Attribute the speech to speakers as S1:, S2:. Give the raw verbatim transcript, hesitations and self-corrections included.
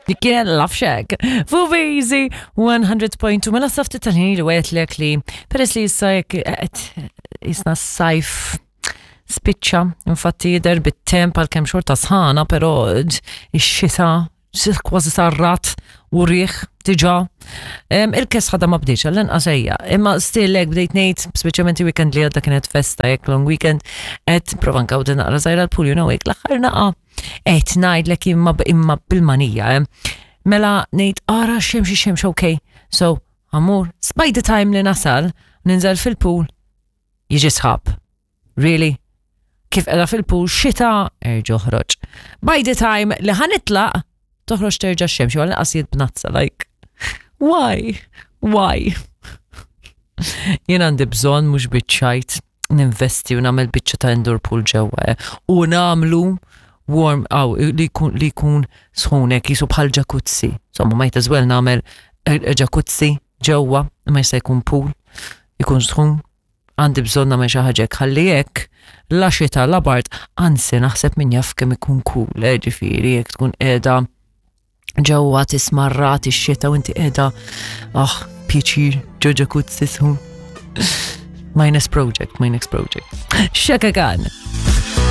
S1: Dik kienet Love Shack. Fuq Easy one hundred point two. Mela safti tal-ħin li għetlek li peress li issa jekk qed jisna s-sajf spiċċa, infatti jidher bit-temp għal kemm xorta sħana, però ix-xita kważi sarrat u riħ diġà. Il-kesħa ma bdietx, għall-inqas ejja. Imma still hekk bdejt ngħid, speċjalment weekend li għadda kienet festa, jekk long weekend, qed prova nkawdi naqra żgħira l-pool, you know, hekk l-aħħar naqa. Qed ngħidlek imma imma bil-manija, eh. Mela ngħid ara xemx xemx, okay. So, amur, by the time li nasal, ninżel fil-pool, jiġi sħab. Really? Kif qiegħda fil-pool, xita, erġa' oħroġ. By the time li ħa nitlaq, toħroġ terġa' xemx, għal qasijiet bnazza, like, why? Why? Jien għandi bżonn, mhux biċ-ċajt, ninvesti u nagħmel biċċa ta' indoor pool ġewwa, eh, u nagħmlu warm aw li jkun li jkun sħunek jisu bħal jacuzzi. Insomma, might as well nagħmel eh, jacuzzi ġewwa, ma jista' jkun pool, jkun sħun. Għandi bżonn nagħmel xi ħaġa hekk ħalli hekk la xita la bard, anzi naħseb min jaf kemm ikun cool, eh, ġifieri jekk tkun qiegħda ġewwa tismarrat ix-xita u inti qiegħda, ah, pjaċir ġo jacuzzi sħun. My next project, my next project. Chaka Khan.